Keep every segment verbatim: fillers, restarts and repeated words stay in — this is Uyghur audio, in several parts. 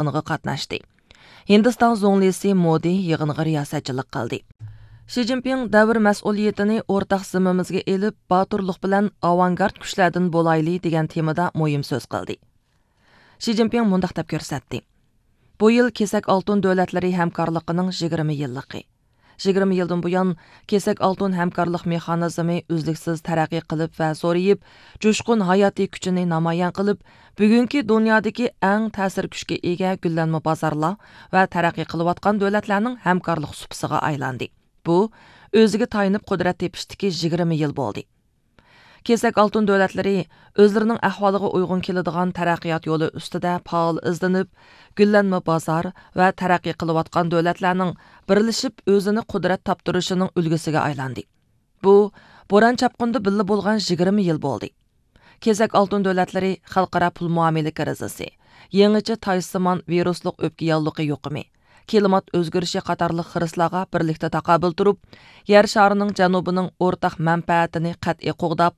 يىغىنىغا قاتناشتى. ھىندىستان زۇڭلىسى مودى يىغىنغا رىياسەتچىلىك قىلدى. شى جىنپىڭ دەۋر مەسئۇلىيىتىنى ئورتاق زىممىمىزگە ئېلىپ، باتۇرلۇق بىلەن ئاۋانگارت كۈچلەردىن بولايلى دېگەن تېمىدا مۇھىم سۆز قىلدى. شى جىنپىڭ مۇنداق دەپ كۆرسەتتى: بۇ يىل كېسەك ئالتۇن دۆلەتلىرى ھەمكارلىقىنىڭ يىگىرمە يىللىقى. يىگىرمە يىلدىن بۇيان، كېسەك ئالتۇن ھەمكارلىق مېخانىزمى ئۈزلۈكسىز تەرەققىي قىلىپ ۋە زورىيىپ، جۇشقۇن ھاياتىي كۈچىنى نامايان قىلىپ، بۈگۈنكى دۇنيادىكى ئەڭ تەسىر كۈچكە ئىگە گۈللەنمە بازارلار ۋە تەرەققىي قىلىۋاتقان دۆلەتلەرنىڭ ھەمكارلىق سۇپىسىغا ئايلاندى. بۇ، ئۆزىگە تايىنىپ قۇدرەت تېپىشتىكى يىگىرمە يىل بولدى. كېسەك ئالتۇن دۆلەتلىرى ئۆزلىرىنىڭ ئەھۋالىغا ئۇيغۇن كېلىدىغان تەرەققىيات يولى ئۈستىدە پائال ئىزدىنىپ، گۈللەنمە بازار ۋە تەرەققىي قىلىۋاتقان دۆلەتلەرنىڭ بىرلىشىپ ئۆزىنى قۇدرەت تاپتۇرۇشىنىڭ ئۈلگىسىگە ئايلاندى. بۇ، بوران چاپقۇندا بىللە بولغان يىگىرمە يىل بولدى. كېسەك ئالتۇن دۆلەتلىرى خەلقئارا پۇل مۇئامىلە كىرىزىسى، يېڭىچە تايسىمان ۋىرۇسلۇق ئۆپكە ياللۇغى يۇقۇمى، كىلىمات ئۆزگىرىشى قاتارلىق خىرىسلارغا بىرلىكتە تاقابىل تۇرۇپ، يەر شارىنىڭ جەنۇبىنىڭ ئورتاق مەنپەئەتىنى قەتئىي قوغداپ،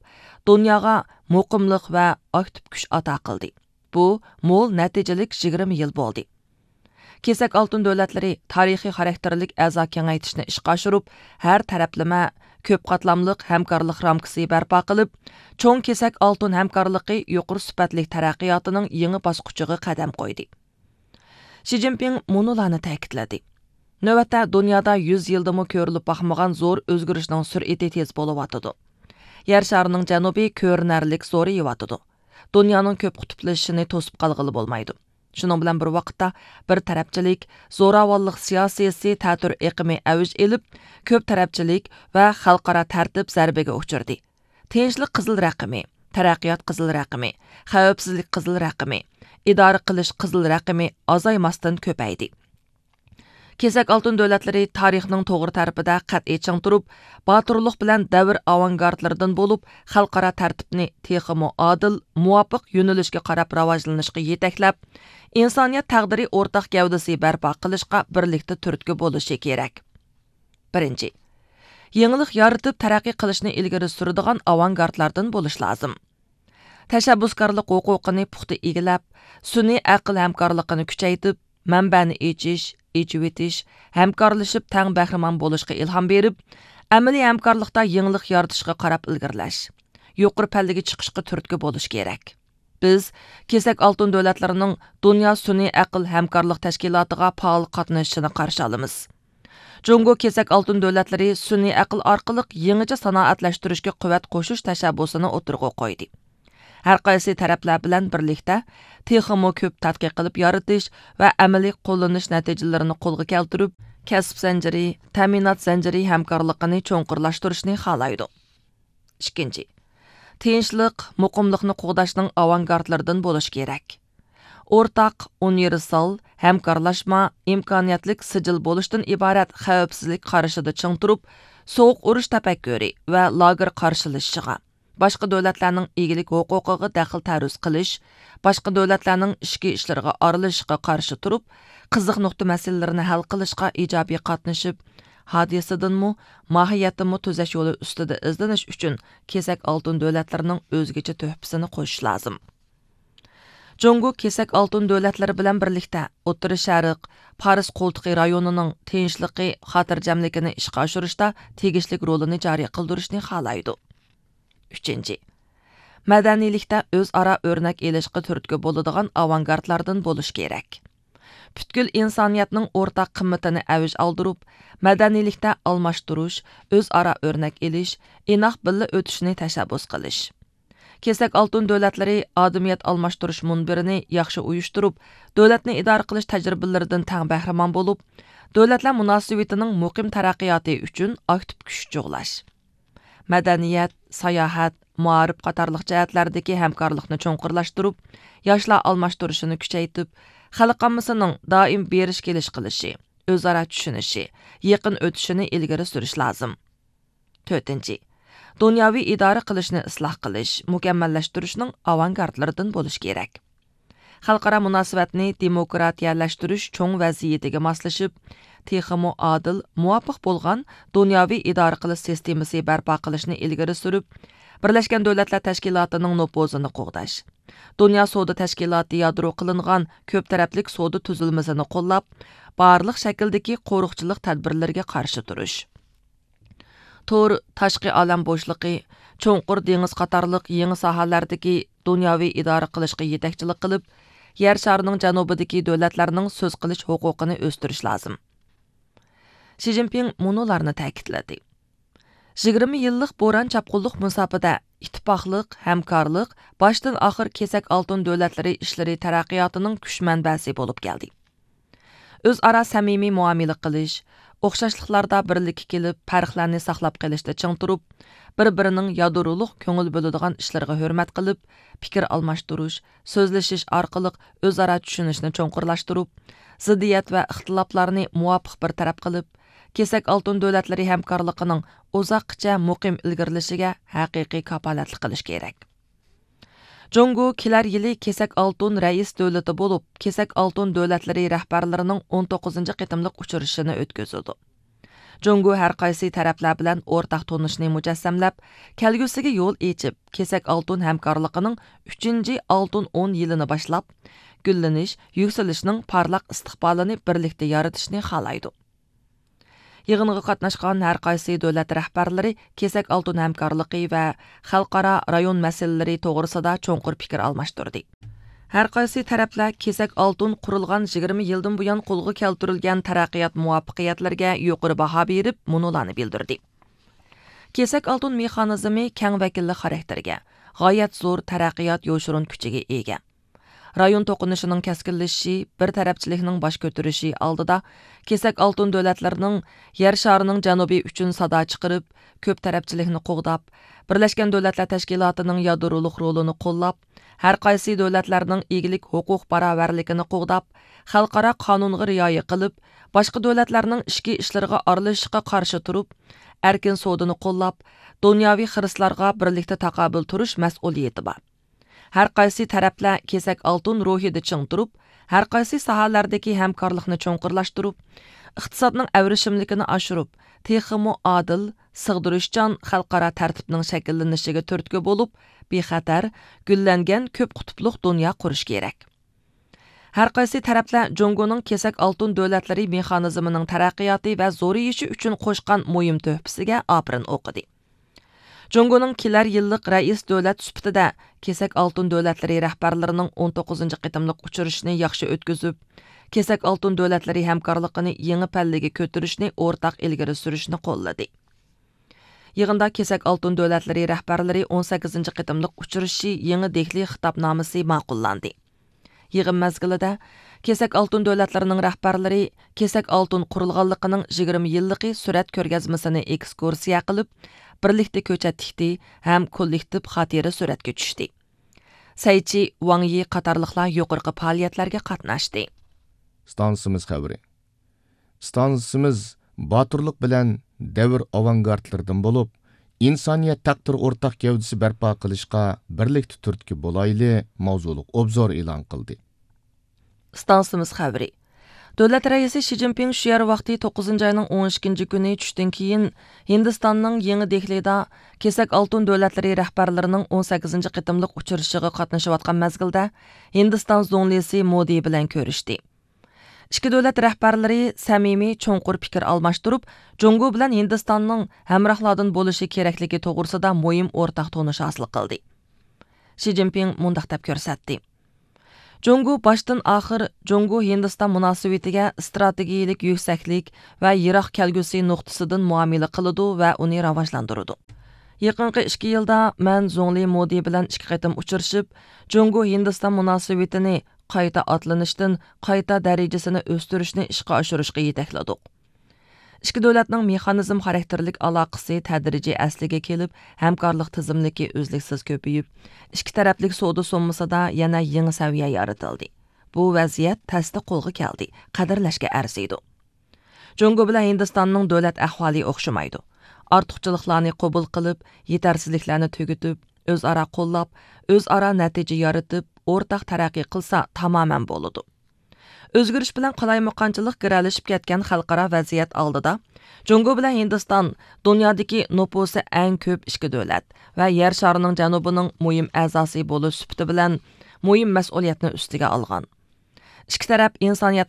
دۇنياغا مۇقىملىق ۋە ئاكتىپ كۈچ ئاتا قىلدى. بۇ مول نەتىجىلىك يىگىرمە يىل بولدى. كېسەك ئالتۇن دۆلەتلىرى تارىخىي خاراكتېرلىك ئەزا كېڭەيتىشنى ئىشقا ئاشۇرۇپ، ھەر تەرەپلىمە، كۆپ قاتلاملىق ھەمكارلىق رامكىسى بەرپا قىلىپ، چوڭ كېسەك ئالتۇن ھەمكارلىقى يۇقىرى سۈپەتلىك تەرەققىياتىنىڭ يېڭى باسقۇچىغا قەدەم قويدى. شى جىنپىڭ مۇنۇلارنى تەكىتلىدى: نۆۋەتتە دۇنيادا يۈز يىلدىمۇ كۆرۈلۈپ باقمىغان زور ئۆزگىرىشنىڭ سۈرئىتى تېز بولۇۋاتىدۇ. يەر شارىنىڭ جەنۇبى كۆرۈنەرلىك زورىيىۋاتىدۇ. دۇنيانىڭ كۆپ قۇتۇپلىشىشىنى توسۇپ قالغىلى بولمايدۇ. شۇنىڭ بىلەن بىر ۋاقىتتا، بىر تەرەپچىلىك، زوراۋانلىق سىياسىيسى تەتۈر ئېقىمى ئەۋج ئېلىپ، كۆپ تەرەپچىلىك ۋە خەلقئارا تەرتىپ زەربىگە ئۇچرىدى. تىنچلىق قىزىل رەقىمى، تەرەققىيات قىزىل رەقىمى، خەۋپسىزلىك قىزىل رەقىمى، ئىدارە قىلىش قىزىل رەقىمى ئازايماستىن كۆپەيدى. كېسەك ئالتۇن دۆلەتلىرى تارىخنىڭ توغرا تەرىپىدە قەتئىي چىڭ تۇرۇپ، باتۇرلۇق بىلەن دەۋر ئاۋانگارتلىرىدىن بولۇپ، خەلقئارا تەرتىپنى تېخىمۇ ئادىل، مۇۋاپىق يۆنىلىشكە قاراپ راۋاجلىنىشقا يېتەكلەپ، ئىنسانىيەت تەقدىرى ئورتاق گەۋدىسى بەرپا قىلىشقا بىرلىكتە تۈرتكە بولۇشى كېرەك. بىرىنچى، يېڭىلىق يارىتىپ تەرەققىي قىلىشنى ئىلگىرى سۈرىدىغان ئاۋانگارتلاردىن بولۇش لازىم. تەشەببۇسكارلىق ھوقۇقىنى پۇختا ئىگىلەپ، سۈنئىي ئەقىل ھەمكارلىقىنى كۈچەيتىپ، مەنبەنى ئېچىش، ئېچىۋېتىش، ھەمكارلىشىپ تەڭ بەھرىمەن بولۇشقا ئىلھام بېرىپ، ئەمەلىي ھەمكارلىقتا يېڭىلىق يارىتىشقا قاراپ ئىلگىرىلەش، يۇقىرى پەللىگە چىقىشقا تۈرتكە بولۇش كېرەك. بىز كېسەك ئالتۇن دۆلەتلىرىنىڭ دۇنيا سۈنئىي ئەقىل ھەمكارلىق تەشكىلاتىغا پائال قاتنىشىشىنى قارشى ئالىمىز. جۇڭگو كېسەك ئالتۇن دۆلەتلىرى سۈنئىي ئەقىل ئارقىلىق يېڭىچە سانائەتلەشتۈرۈشكە قۇۋۋەت قوشۇش تەشەببۇسىنى ئوتتۇرىغا قويدى. ھەر قايسى تەرەپلەر بىلەن بىرلىكتە تېخىمۇ كۆپ تەتقىق قىلىپ يارىتىش ۋە ئەمەلىي قوللىنىش نەتىجىلىرىنى قولغا كەلتۈرۈپ، كەسىپ زەنجىرى، تەمىنات زەنجىرى ھەمكارلىقىنى چوڭقۇرلاشتۇرۇشنى خالايدۇ. ئىككىنچى، تىنچلىق، مۇقىملىقنى قوغداشنىڭ ئاۋانگارتلىرىدىن بولۇش كېرەك. ئورتاق، ئۇنىۋېرسال، ھەمكارلاشما، ئىمكانىيەتلىك سىجىل بولۇشتىن ئىبارەت خەۋپسىزلىك قارىشىدا چىڭ تۇرۇپ، سوغۇق ئۇرۇش تەپەككۇرى ۋە لاگېر قارشىلىشىشىغا، باشقا دۆلەتلەرنىڭ ئىگىلىك ھوقۇقىغا دەخلى-تەرۇز قىلىش، باشقا دۆلەتلەرنىڭ ئىچكى ئىشلىرىغا ئارىلىشىشقا قارشى تۇرۇپ، قىزىق نۇقتا مەسىلىلىرىنى ھەل قىلىشقا ئىجابىي قاتنىشىپ، ھادىسىدىنمۇ، ماھىيەتتىنمۇ تۈزەش يولى ئۈستىدە ئىزدىنىش ئۈچۈن كېسەك ئالتۇن دۆلەتلىرىنىڭ ئۆزگىچە تۆھپىسىنى قوشۇش لازىم. جۇڭگو كېسەك ئالتۇن دۆلەتلىرى بىلەن بىرلىكتە ئوتتۇرا شەرق، پارس قولتۇقى رايونىنىڭ تىنچلىقى، خاتىرجەملىكىنى ئىشقا ئاشۇرۇشتا تېگىشلىك رولىنى جارى قىلدۇرۇشنى خالايدۇ. ئۈچىنچى، مەدەنىيلىكتە ئۆزئارا ئۆرنەك ئېلىشقا تۈرتكە بولىدىغان ئاۋانگارتلاردىن بولۇش كېرەك. پۈتكۈل ئىنسانىيەتنىڭ ئورتاق قىممىتىنى ئەۋج ئالدۇرۇپ، مەدەنىيلىكتە ئالماشتۇرۇش، ئۆزئارا ئۆرنەك ئېلىش، ئىناق بىللە ئۆتۈشنى تەشەببۇس قىلىش. كېسەك ئالتۇن دۆلەتلىرى ئادىمىيەت ئالماشتۇرۇش مۇنبىرىنى ياخشى ئۇيۇشتۇرۇپ، دۆلەتنى ئىدارە قىلىش تەجرىبىلىرىدىن تەڭ بەھرىمەن بولۇپ، دۆلەتلەر مۇناسىۋىتىنىڭ مۇقىم تەرەققىياتى ئۈچۈن ئاكتىپ كۈچ جۇغلاش. مەدەنىيەت، ساياھەت، مائارىپ قاتارلىق جەھەتلەردىكى ھەمكارلىقنى چوڭقۇرلاشتۇرۇپ، ياشلار ئالماشتۇرۇشىنى كۈچەيتىپ، خەلق ئاممىسىنىڭ دائىم بېرىش كېلىش قىلىشى، ئۆزئارا چۈشىنىشى، يېقىن ئۆتۈشىنى ئىلگىرى سۈرۈش لازىم. تۆتىنچى، دۇنياۋى ئىدارە قىلىشنى ئىسلاھ قىلىش، مۇكەممەللەشتۈرۈشنىڭ ئاۋانگارتلىرىدىن بولۇش كېرەك. خەلقئارا مۇناسىۋەتنى دېموكراتىيەلەشتۈرۈش چوڭ ۋەزىيىتىگە ماسلىشىپ، تېخىمۇ ئادىل، مۇۋاپىق بولغان دۇنياۋى ئىدارە قىلىش سىستېمىسى بەرپا قىلىشنى ئىلگىرى سۈرۈپ، بىرلەشكەن دۆلەتلەر تەشكىلاتىنىڭ نوپۇزىنى قوغداش، دۇنيا سودا تەشكىلاتى يادرو قىلىنغان كۆپ تەرەپلىك سودا تۈزۈلمىسىنى قوللاپ، بارلىق شەكىلدىكى قورۇقچىلىق تەدبىرلىرىگە قارشى تۇرۇش. تور، تاشقى ئالەم بوشلۇقى، چوڭقۇر دېڭىز قاتارلىق يېڭى ساھەلەردىكى دۇنياۋى ئىدارە قىلىشقا يېتەكچىلىك قىلىپ، يەر شارىنىڭ جەنۇبىدىكى دۆلەتلەرنىڭ سۆز قىلىش ھوقۇقىنى ئۆستۈرۈش لازىم. شى جىنپىڭ مۇنۇلارنى تەكىتلىدى: يىگىرمە يىللىق بوران چاپقۇنلۇق مۇساپىدە ئىتتىپاقلىق، ھەمكارلىق باشتىن ئاخىر كېسەك ئالتۇن دۆلەتلىرى ئىشلىرى تەرەققىياتىنىڭ كۈچ مەنبەسى بولۇپ كەلدى. ئۆزئارا سەمىمىي مۇئامىلە قىلىش، ئوخشاشلىقلاردا بىرلىككە كېلىپ، پەرقلەرنى ساقلاپ قېلىشتا چىڭ تۇرۇپ، بىر-بىرىنىڭ يادرولۇق كۆڭۈل بۆلىدىغان ئىشلىرىغا ھۆرمەت قىلىپ، پىكىر ئالماشتۇرۇش، سۆزلىشىش ئارقىلىق ئۆزئارا چۈشىنىشنى چوڭقۇرلاشتۇرۇپ، زىددىيەت ۋە ئىختىلاپلارنى مۇۋاپىق بىر تەرەپ قىلىپ، كېسەك ئالتۇن دۆلەتلىرى ھەمكارلىقىنىڭ ئۇزاققىچە مۇقىم ئىلگىرىلىشىگە ھەقىقىي كاپالەتلىك قىلىش كېرەك. جۇڭگو كېلەر يىلى كېسەك ئالتۇن رەئىس دۆلىتى بولۇپ، كېسەك ئالتۇن دۆلەتلىرى رەھبەرلىرىنىڭ ئون توققۇزىنچى قېتىملىق ئۇچرىشىشىنى ئۆتكۈزىدۇ. جۇڭگو ھەر قايسى تەرەپلەر بىلەن ئورتاق تونۇشنى مۇجەسسەملەپ، كەلگۈسىگە يول ئېچىپ، كېسەك ئالتۇن ھەمكارلىقىنىڭ ئۈچىنچى ئالتۇن ئون يىلىنى باشلاپ، گۈللىنىش، يۈكسىلىشنىڭ پارلاق ئىستىقبالىنى بىرلىكتە يارىتىشنى خالايدۇ. يىغىنغا قاتناشقان ھەر قايسى دۆلەت رەھبەرلىرى كېسەك ئالتۇن ھەمكارلىقى ۋە خەلقئارا رايون مەسىلىلىرى توغرىسىدا چوڭقۇر پىكىر ئالماشتۇردى. ھەر قايسى تەرەپلەر كېسەك ئالتۇن قۇرۇلغان يىگىرمە يىلدىن بۇيان قولغا كەلتۈرۈلگەن تەرەققىيات مۇۋەپپەقىيەتلىرىگە يۇقىرى باھا بېرىپ، مۇنۇلارنى بىلدۈردى: كېسەك ئالتۇن مېخانىزمى كەڭ ۋەكىللىك خاراكتېرىگە، غايەت زور تەرەققىيات يوشۇرۇن كۈچىگە ئىگە. رايون توقۇنۇشىنىڭ كەسكىنلىشىشى، بىر تەرەپچىلىكنىڭ باش كۆتۈرۈشى ئالدىدا، كېسەك ئالتۇن دۆلەتلىرىنىڭ يەر شارىنىڭ جەنۇبى ئۈچۈن سادا چىقىرىپ، كۆپ تەرەپچىلىكنى قوغداپ، بىرلەشكەن دۆلەتلەر تەشكىلاتىنىڭ يادرولۇق رولىنى قوللاپ، ھەر قايسى دۆلەتلەرنىڭ ئىگىلىك ھوقۇق باراۋەرلىكىنى قوغداپ، خەلقئارا قانۇنغا رىئايە قىلىپ، باشقا دۆلەتلەرنىڭ ئىچكى ئىشلىرىغا ئارىلىشىشقا قارشى تۇرۇپ، ئەركىن سودىنى قوللاپ، دۇنياۋى خىرىسلارغا بىرلىكتە تاقابىل تۇرۇش مەسئۇلىيىتى بار. ھەر قايسى تەرەپلەر كېسەك ئالتۇن روھىدا چىڭ تۇرۇپ، ھەر قايسى ساھەلەردىكى ھەمكارلىقنى چوڭقۇرلاشتۇرۇپ، ئىقتىسادنىڭ ئەۋرىشىملىكىنى ئاشۇرۇپ، تېخىمۇ ئادىل، سىغدۇرۇشچان خەلقئارا تەرتىپنىڭ شەكىللىنىشىگە تۈرتكە بولۇپ، بىخەتەر، گۈللەنگەن كۆپ قۇتۇپلۇق دۇنيا قۇرۇش كېرەك. ھەر قايسى تەرەپلەر جۇڭگونىڭ كېسەك ئالتۇن دۆلەتلىرى مېخانىزمىنىڭ تەرەققىياتى ۋە زورىيىشى ئۈچۈن قوشقان مۇھىم تۆھپىسىگە ئاپىرىن ئوقۇدى. جۇڭگونىڭ كېلەر يىللىق رەئىس دۆلەت سۈپىتىدە كېسەك ئالتۇن دۆلەتلىرى رەھبەرلىرىنىڭ ئون توققۇزىنچى قېتىملىق ئۇچرىشىشىنى ياخشى ئۆتكۈزۈپ، كېسەك ئالتۇن دۆلەتلىرى ھەمكارلىقىنى يېڭى پەللىگە كۆتۈرۈشنى ئورتاق ئىلگىرى سۈرۈشنى قوللىدى. يىغىندا كېسەك ئالتۇن دۆلەتلىرى رەھبەرلىرى ئون سەككىزىنچى قېتىملىق ئۇچرىشىشى يېڭى دېھلى خىتابنامىسى ماقۇللاندى. يىغىن مەزگىلىدە كېسەك ئالتۇن دۆلەتلىرىنىڭ رەھبەرلىرى كېسەك ئالتۇن قۇرۇلغانلىقىنىڭ يىگىرمە يىللىقى سۈرەت كۆرگەزمىسىنى ئېكسكۇرسىيە قىلىپ، بىرلىكتە كۆچەت تىكتى ھەم كوللېكتىپ خاتىرە سۈرەتكە چۈشتى. سەيچى، ۋاڭ يى قاتارلىقلار يۇقىرىقى پائالىيەتلەرگە قاتناشتى. ئىستانسىمىز خەۋىرى. ئىستانسىمىز باتۇرلۇق بىلەن دەۋر ئاۋانگارتلىرىدىن بولۇپ، ئىنسانىيەت تەقدىر ئورتاق گەۋدىسى بەرپا قىلىشقا بىرلىكتە تۈرتكە بولايلى ماۋزۇلۇق ئوبزور ئېلان قىلدى. ئىستانسىمىز خەۋىرى. دۆلەت رەئىسى شى جىنپىڭ شۇ يەر ۋاقتى توققۇزىنچى ئاينىڭ ئون ئىككىنچى كۈنى چۈشتىن كېيىن، ھىندىستاننىڭ يېڭى دېھلىدا كېسەك ئالتۇن دۆلەتلىرى رەھبەرلىرىنىڭ ئون سەككىزىنچى قېتىملىق ئۇچرىشىشىغا قاتنىشىۋاتقان مەزگىلدە، ھىندىستان زۇڭلىسى مودى بىلەن كۆرۈشتى. ئىككى دۆلەت رەھبەرلىرى سەمىمىي، چوڭقۇر پىكىر ئالماشتۇرۇپ، جۇڭگو بىلەن ھىندىستاننىڭ ھەمراھلاردىن بولۇشى كېرەكلىكى توغرىسىدا مۇھىم ئورتاق تونۇش ھاسىل قىلدى. شى جىنپىڭ مۇنداق دەپ كۆرسەتتى: جۇڭگو باشتىن ئاخىر جۇڭگو ھىندىستان مۇناسىۋىتىگە ئىستراتېگىيىلىك يۈكسەكلىك ۋە يىراق كەلگۈسى نۇقتىسىدىن مۇئامىلە قىلىدۇ ۋە ئۇنى راۋاجلاندۇرىدۇ. يېقىنقى ئىككى يىلدا مەن زۇڭلى مودى بىلەن ئىككى قېتىم ئۇچرىشىپ، جۇڭگو ھىندىستان مۇناسىۋىتىنى قايتا ئاتلىنىشتىن قايتا دەرىجىسىنى ئۆستۈرۈشنى ئىشقا ئاشۇرۇشقا يېتەكلىدۇق. ئىككى دۆلەتنىڭ مېخانىزم خاراكتېرلىك ئالاقىسى تەدرىجىي ئەسلىگە كېلىپ، ھەمكارلىق تىزىملىكى ئۈزلۈكسىز كۆپىيىپ، ئىككى تەرەپلىك سودا سوممىسىدا يەنە يېڭى سەۋىيە يارىتىلدى. بۇ ۋەزىيەت تەستە قولغا كەلدى، قەدىرلەشكە ئەرزىيدۇ. جۇڭگو بىلەن ھىندىستاننىڭ دۆلەت ئەھۋالى ئوخشىمايدۇ. ئارتۇقچىلىقلارنى قوبۇل قىلىپ، يېتەرسىزلىكلەرنى تۈگىتىپ، ئۆزئارا قوللاپ، ئۆزئارا نەتىجە يارىتىپ، ئورتاق تەرەققىي قىلسا تامامەن بولىدۇ. ئۆزگىرىش بىلەن قالايمىقانچىلىق گىرەلىشىپ كەتكەن خەلقئارا ۋەزىيەت ئالدىدا، جۇڭگو بىلەن ھىندىستان دۇنيادىكى نوپۇسى ئەڭ كۆپ ئىككى دۆلەت ۋە يەر شارىنىڭ جەنۇبىنىڭ مۇھىم ئەزاسى بولۇش سۈپىتى بىلەن مۇھىم مەسئۇلىيەتنى ئۈستىگە ئالغان. ئىككى تەرەپ ئىنسانىيەتنىڭ